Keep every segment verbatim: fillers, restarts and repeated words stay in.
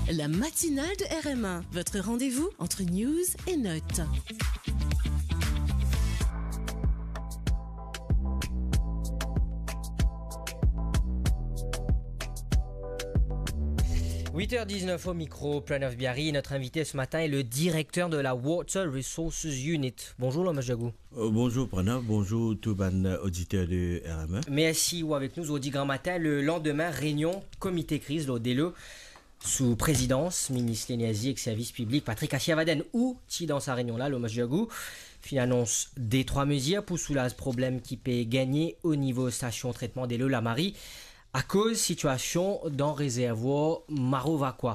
La matinale de R M un, votre rendez-vous entre news et notes. Huit heures dix-neuf au micro, Pranav Biari. Notre invité ce matin est le directeur de la Water Resources Unit. Bonjour, Lomash Diagou. Euh, bonjour Pranav, bonjour tou bann, euh, oditer de R M un. Mersi ou avek nou zordi gramatin, le landime reynion komite kriz lor delo, sou prezidans minis Lenerzi ek Servis Piblik Patrick Asirvadene. Ou ti dan sa reynion la, Lomash Diagou, finn anons de trwa mezir pou soulaz problem ki pe gagne o nivo stasion tretman delo Lamarie akoz sitiasion dan rezervwar Maro Vakwa.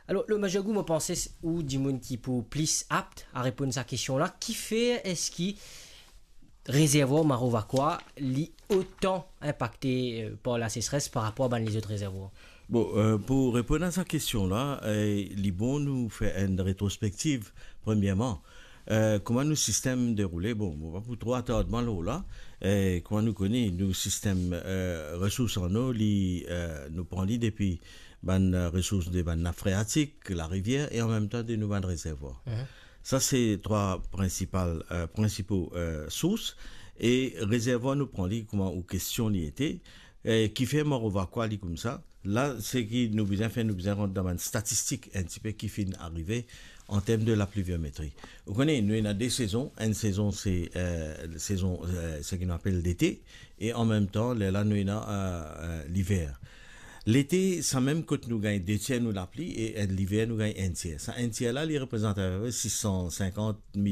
Alor, Lomash Diagou, mo panse s-, ou dimoun ki pou plis apt a reponn sa kestion la, kifer eski rezervwar Maro Vakwa li otan inpakte, euh, par lasesres par rapor a bann lezot rezervwar? Bon, euh, pou reponn a sa kestion la, euh, li bon nou fer enn retrospektiv, premierman. Euh, kouma nou sistem deroule? Bon, mo pa pou tro atard mwa lor la. Euh, kouma nou kone, nou sistem, euh, resours an o, li, euh, nou pran li depi bann, euh, resours de bann nap freatik, larivier, e an mem tan de nou bann rezervwar. Mhm. Sa se trwa prinsipal, euh, prinsipo, euh, sours. E rezervwar nou pran li kouma ou kestion li ete, euh, kifer Maro Vakwa li koumsa. La, seki nou bizin fer, nou bizin rant dan bann statistik enn tipe ki finn arive an term de lapliviometri. Ou kone, nou ena de sezon. Enn sezon se, euh, sezon, euh, seki nou apel lete, e an mem tan, lerla nou ena, euh, euh, liver. Lete, sa mem kot nou gagn de tier nou lapli, e, euh, liver nou gagn enn tier. Sa enn tier la, li reprezant apepre sis san sinkant